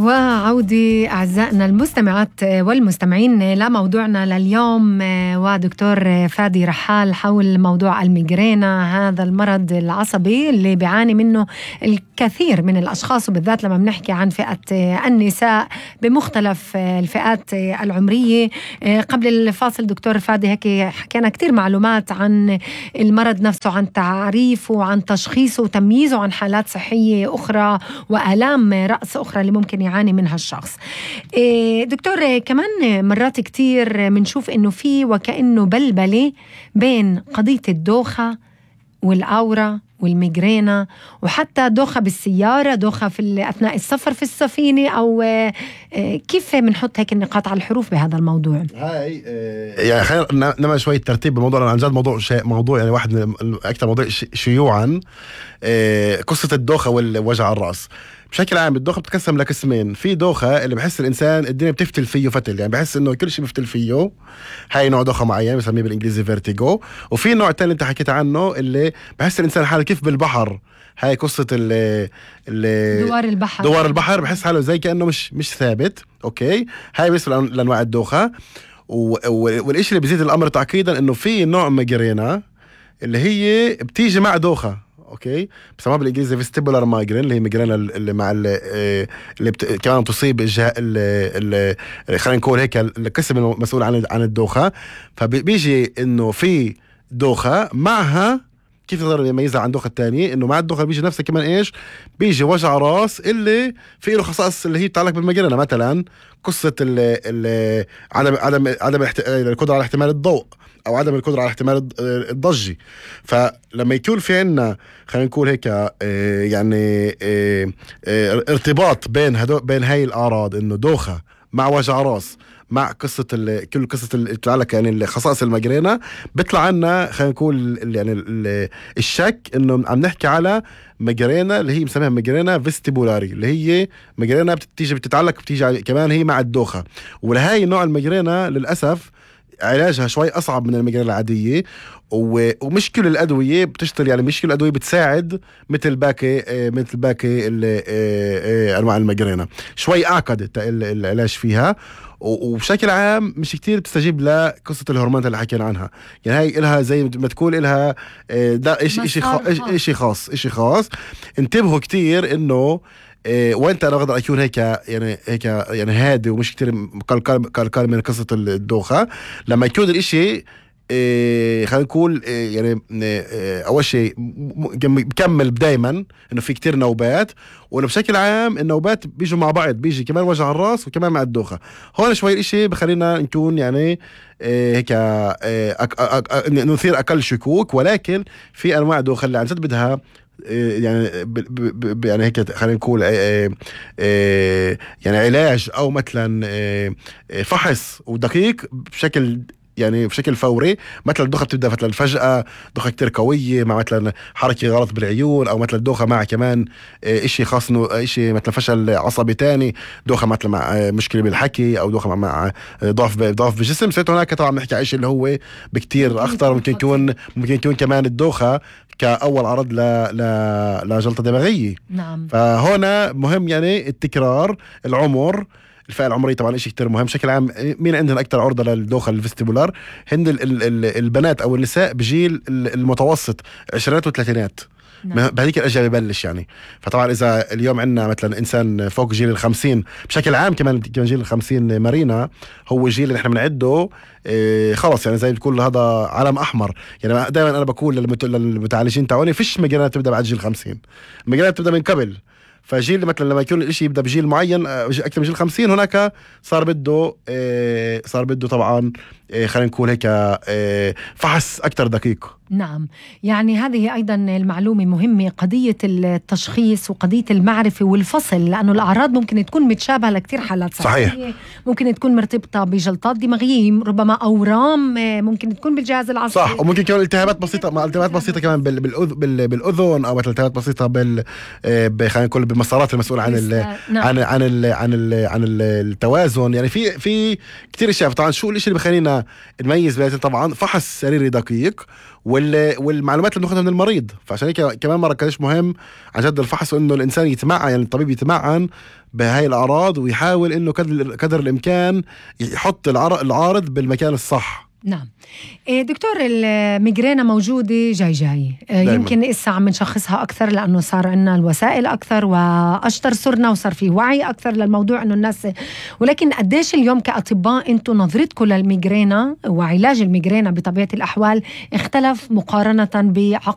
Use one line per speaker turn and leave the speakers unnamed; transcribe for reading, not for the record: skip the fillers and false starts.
وعودة أعزائنا المستمعات والمستمعين لموضوعنا لليوم، ودكتور فادي رحال حول موضوع الميغرينا، هذا المرض العصبي اللي بيعاني منه الكثير من الأشخاص، وبالذات لما بنحكي عن فئة النساء بمختلف الفئات العمرية. قبل الفاصل دكتور فادي هيك حكينا كتير معلومات عن المرض نفسه، عن تعريفه وعن تشخيصه وتمييزه عن حالات صحية أخرى وآلام رأس أخرى اللي ممكن يعاني منها الشخص. دكتور، كمان مرات كتير منشوف إنه في وكأنه بلبلة بين قضية الدوخة والأورا والميغرينا، وحتى دوخة بالسيارة، دوخة في أثناء السفر في السفينة، أو كيف منحط هيك النقاط على الحروف بهذا الموضوع؟
هاي يعني خلينا نعمل شوية ترتيب بالموضوع، عن جد موضوع يعني واحد من أكثر موضوع شيوعا، قصة الدوخة والوجع الرأس. بشكل عام الدوخة بتقسم لقسمين. في دوخة اللي بحس الإنسان الدنيا بتفتل فيه فتل، يعني بحس إنه كل شيء بفتل فيه، هاي نوع دوخة معين بسميه بالإنجليزي فيرتيجو. وفي نوع تاني أنت حكيت عنه اللي بحس الإنسان حاله كيف بالبحر، هاي قصة دوار البحر، بحس حاله زي كأنه مش ثابت. أوكي، هاي بالنسبة لأنواع الدوخة. والإشي اللي بيزيد الأمر تعقيدا إنه في نوع ميغرينا اللي هي بتيجي مع دوخة. اوكي، بسموها بالانجليزي فيستيبولار مايجرين، اللي هي ميغرينا اللي مع كمان تصيب الجهه خلينا نقول هيك القسم المسؤول عن الدوخه. فبيجي انه في دوخه معها، كيف نقدر نميزها عن الدوخه الثانيه؟ انه مع الدوخه بيجي نفسها كمان ايش؟ بيجي وجع راس اللي في له خصائص اللي هي بتتعلق بالميغرينا، مثلا قصه عدم القدره على احتمال الضوء، او عدم القدره على احتمال الضجه. فلما يكون في عنا خلينا نقول هيك يعني ارتباط بين هاي الاعراض، انه دوخه مع وجع راس مع كل قصة اللي تتعلق يعني خصائص الميغرينا، بيطلع عنا خلينا نقول يعني الشك انه عم نحكي على ميغرينا اللي هي بنسميها ميغرينا فيستيبولاري، اللي هي ميغرينا بتيجي كمان هي مع الدوخة. ولهاي نوع الميغرينا للأسف علاجها شوي أصعب من الميغرينا العادية، ومش كل الأدوية بتشتغل، يعني مش كل الأدوية بتساعد مثل باقي أنواع الميغرينا، شوي أعقد العلاج فيها. وبشكل عام مش كتير بتستجيب لقصة الهرمونات اللي حكينا عنها، يعني هاي إلها زي ما تقول إلها ده إشي خاص. انتبهوا كتير إنه وانت انا اقدر اكون هيك يعني هادي ومش كتير قلقان من قصة الدوخة. لما يكون الاشي خلينا نقول يعني اول شيء بكمل دايما انه في كتير نوبات، وانه بشكل عام النوبات بيجوا مع بعض، بيجي كمان وجع الراس وكمان مع الدوخة. هون شوي الاشي بخلينا نكون يعني هيك نثير اقل شكوك، ولكن في انواع دوخة اللي عن جد بدها يعني يعني هيك خلينا نقول يعني علاج او مثلا فحص ودقيق بشكل فوري. مثلا الدوخة بتبدأ مثلا فجأة دوخة كتير قوية مع مثلا حركة غلط بالعيون، أو مثلا دوخة مع كمان إشي خاص إنه إشي مثلا فشل عصبي تاني، دوخة مثلا مع مشكلة بالحكي، أو دوخة مع ضعف بالجسم. سيت هناك طبعا بنحكي عن إشي اللي هو بكتير أخطر، ممكن يكون كمان الدوخة كأول عرض لجلطة دماغية.
نعم.
فهنا مهم يعني التكرار، العمر، الفئة العمرية طبعا إشي كتير مهم. بشكل عام مين عندنا أكتر عرضة للدوخة الفيستيبولار؟ هند البنات أو النساء بجيل المتوسط عشرينات وثلاثينات.
نعم.
بهذيك الأجيال ببلش يعني. فطبعا إذا اليوم عندنا مثلا إنسان فوق جيل 50 بشكل عام، كمان جيل 50 مارينا هو الجيل اللي إحنا بنعده خلص، يعني زي بتقول هذا علم أحمر. يعني دائما أنا بقول للمتعالجين تعوني فيش مجالات تبدأ بعد جيل 50، المجالات تبدأ من قبل. فجيل مثلا لما يكون الاشي يبدأ بجيل معين أكثر من جيل 50، هناك صار بده طبعا خلينا نقول هيك فحص أكثر دقيق.
نعم، يعني هذه أيضا المعلومة مهمة، قضية التشخيص وقضية المعرفة والفصل، لأنه الأعراض ممكن تكون متشابهة لكتير حالات صحية.
صحيح.
ممكن تكون مرتبطة بجلطات دماغية، ربما أورام ممكن تكون بالجهاز العصبي.
صح، وممكن كمان التهابات بسيطة، مع التهابات بسيطة كمان بالأذن، أو التهابات بسيطة خلينا نقول بالمسارات المسؤولة عن التوازن. يعني في كتير أشياء. طبعا شو الإشي اللي بخلينا نميز بيناتهم؟ طبعا فحص سريري دقيق، والمعلومات اللي بناخدها من المريض. فعشان هيك كمان مرة كانش مهم عن جد الفحص، وإنه الإنسان يتمعن، يعني الطبيب يتمعن بهاي الأعراض ويحاول إنه قدر الإمكان يحط العارض بالمكان الصح.
نعم. دكتور، الميغرينا موجودة جاي يمكن إسا عم نشخصها أكثر لأنه صار عنا الوسائل أكثر وأشطر صرنا وصار فيه وعي أكثر للموضوع إنه الناس، ولكن قديش اليوم كأطباء أنتوا نظرتكم للميغرينا وعلاج الميغرينا بطبيعة الأحوال اختلف مقارنة بعقد